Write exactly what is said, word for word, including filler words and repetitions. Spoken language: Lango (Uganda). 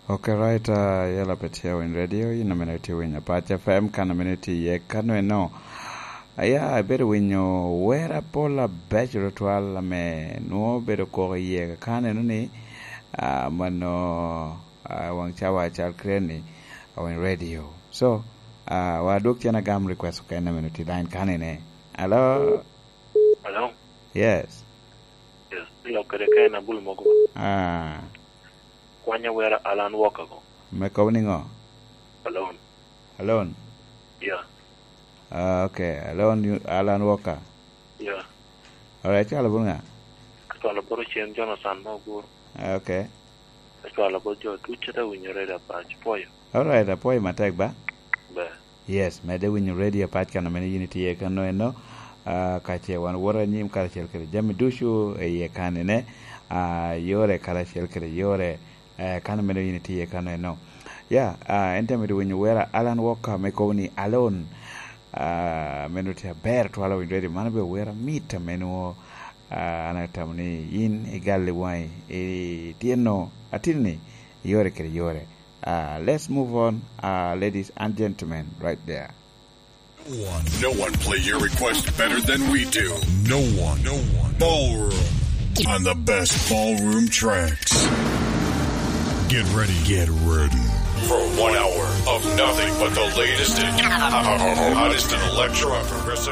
Ok, right, uh, yela pe tye winy radio, yin amene tye winy Apac F M, kan amene tye iye kano eno. Aya, ibedo winyo wer apol abeco tutwal ame nwo bedo koko iye kan eno ni, uh, mano, uh, wang cawa cal kre ni, uh, winy radio. So, uh, wa dwok cen agam request okene amene tye line kan ene. Hello? Hello? Yes. Yes. Lok kede ka en abul mogo. Ah. Kwanya wera Alan Walker go. Me kobo ni ngo? Alone. Alone? Yeah. Ah, okay. Alone, you, Alan Walker. Yeah. Alright, cwalo bot nga? Cwalo bot Ochen Jonathan me Oguru. Ah, okay. Cwalo bot jo ducu ate winyo redio Apac. Pwoyo. Alright, apwoyo matek ba? Ber. Yes, medde winyo redio Apac kan amene yin itye kano eno, ah, ka ce wan woto anyim karacel kede jami ducu i iye kanene, ah, yore karacel kede yore, eh, kan amene yin itye kano eno. Ya, ah, en te medo winyo wera Alan Walker me kobo ni Alone, ah, meno tye aber twala winyo redio. Mano be wera mit ame nwo, ah, an atamo ni yin igalli waŋi, i tyeno, atin ni, yore kede yore. Uh, let's move on, uh, ladies and gentlemen, right there. No one, no one play your request better than we do. No one, no one. Ballroom on the best ballroom tracks. Get ready, get ready for one hour of nothing but the latest and hottest in electro and progressive